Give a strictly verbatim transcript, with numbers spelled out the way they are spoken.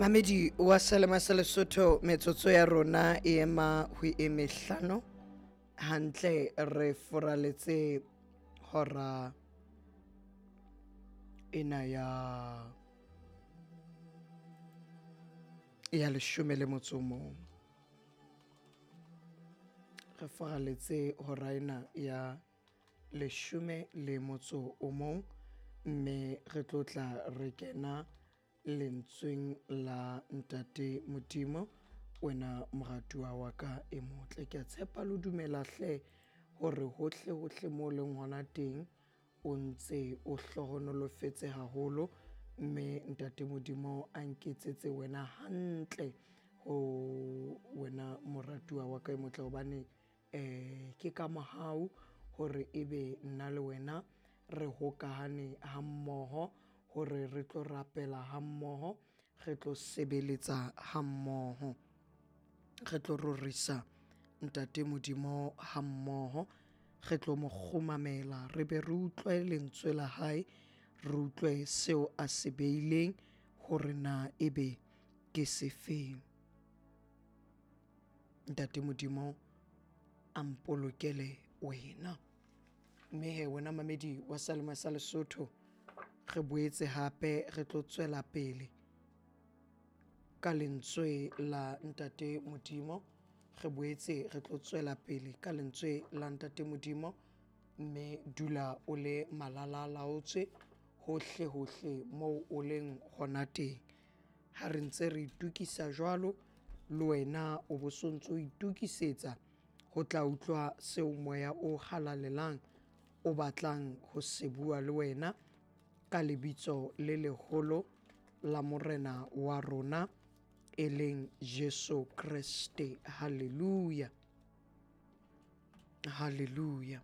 Mamedi wa Selema sa Lesotho, metsotso ya rona e ema ho e mehlano hantle, re furaletse hora ena ya ya leshome le motso o mong. Re furaletse hora ena ya leshome le motso o mong, mme re tlo tla re kena lentsweng la Ntate Modimo. Wena moratuwa wa ka e motle, ke a tshepa le dumela hle hore hohle hohle mo leng hona teng o ntse o hlohonolofetse haholo, mme Ntate Modimo a nketsetse wena hantle ho wena moratuwa wa ka e motle, hobane um ke ka mohau hore ebe nna le wena re hokahane ha mmoho hore re tlo rapela ha mmoho, re tlo sebeletsa ha mmoho, re tlo rorisa Ntate Modimo ha mmoho, re tlo mo kgumamela, re be re utlwe lentswe la hae, re utlwe seo a se beileng hore na ebe ke sefeng. Ntate Modimo a mpolokele wena. Mme he wena mamedi wa Selema sa Lesotho, re boetse hape re tlo tswela pele ka lentswe la Ntate Modimo. Re boetse re tlo tswela pele ka lentswe la Ntate Modimo, mme dula o le malala laotswe hohle hohle moo o leng hona teng. Ha re ntse re itokisa jwalo, le wena o bo sontso o itokisetsa ho tla utlwa seo moya o halalelang o batlang ho se bua le wena ka lebitso le leholo la Morena wa rona e leng Jesu Kreste. Hallelujah, hallelujah.